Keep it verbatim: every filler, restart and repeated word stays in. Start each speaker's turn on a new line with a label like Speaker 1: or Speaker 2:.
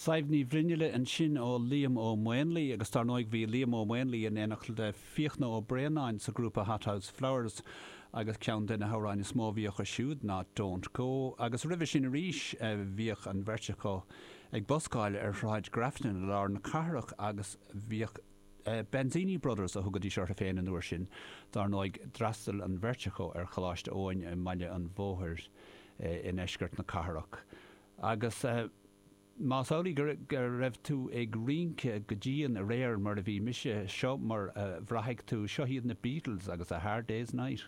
Speaker 1: Sadhbh Ní Bhruinnealla ansin ó Liam Ó Maonlaí agus dar ndóigh bhí Liam Ó Maonlaí in éineacht le Fiachna Ó Braonáin sa grúpa Hothouse Flowers agus ceann de na hamhráin is mó a bhíodh acu siúd ná Don't Go agus roimhe sin arís bhíodh an bheirt acu ag buscáil ar Shráid Grafton i lár na cathrach agus bhíodh Benzini Brothers a thugaidís orthu féin an uair sin. Dar ndóigh d'fhreastail an bheirt acu ar Choláiste Eoin i mBaile an Bhóthair i ndeisceart na cathrach. Agus más amhlaidh go raibh tú ag rince go dian aréir mar a bhí mise seo mar a bhraithfidh tú seo iad na Beatles agus a Hard Day's Night.